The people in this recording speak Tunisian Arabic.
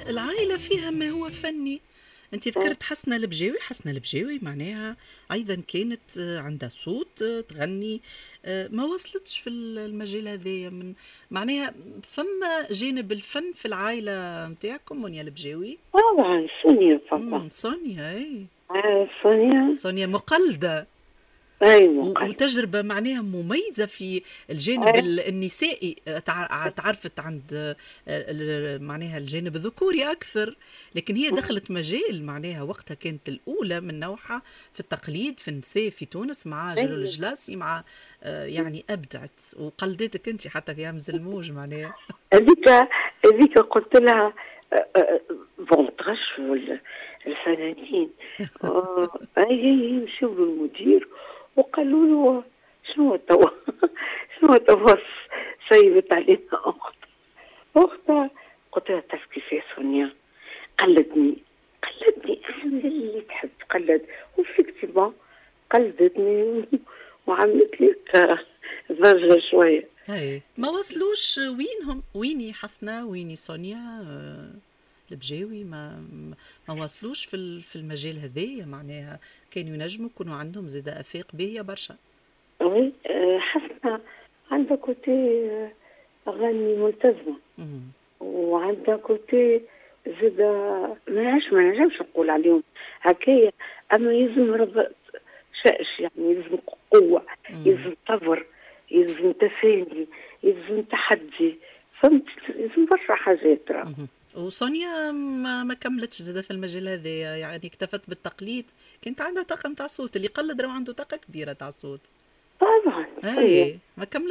العائلة فيها ما هو فني. انت ذكرت حسنة البجاوي، حسنة البجاوي معناها ايضا كانت عندها صوت، تغني، ما وصلتش في المجال هذايا. من معناها فما جانب الفن في العائلة نتاعكم منيا البجاوي؟ طبعا، سونيا فما. سونيا، اي. آه، سونيا. سونيا مقلدة. اي. وتجربة معناها مميزة في الجانب النسائي، تعرفت عند معناها الجانب الذكوري أكثر، لكن هي دخلت مجال معناها وقتها كانت الأولى من نوعها في التقليد في النساء في تونس مع جلول الجلاسي، مع يعني أبدعت وقلدتك أنت حتى في همز الموج معناها. هذيك قلت لها bon، تغشوا الفنانين، اي يمشيو للمدير وقالوا له شنو توا، شنو توا، سيبت علينا اخت اختها. قلت لها تعرف كيفاش سونيا قلدني، قلدني، اعمل اللي تحب، قلد. و effectivement قلدتني وعملت لك ضجه شويه. اي، ما وصلوش، وينهم؟ ويني حسنة؟ ويني سونيا البجاوي؟ ما وصلوش في المجال هذايا، معناها كانوا ينجموا يكونوا عندهم زاد افاق باهيه برشا. oui، حسنة عندها côté اغاني ملتزمة وعندها côté زاد ما نجمش نقول عليهم هكايا، اما يلزم رب شأش، يعني يلزم قوه، يلزم صبر، يلزم تفاني، يلزم تحدي، فهمت؟ يلزم برشا حاجات راه. وسونيا ما كملتش زاده في المجال هذا، يعني اكتفت بالتقليد. كانت عندها طاقة نتاع صوت، اللي قلد راه عنده طاقة كبيرة تاع صوت. طبعا. اي، ما كملت.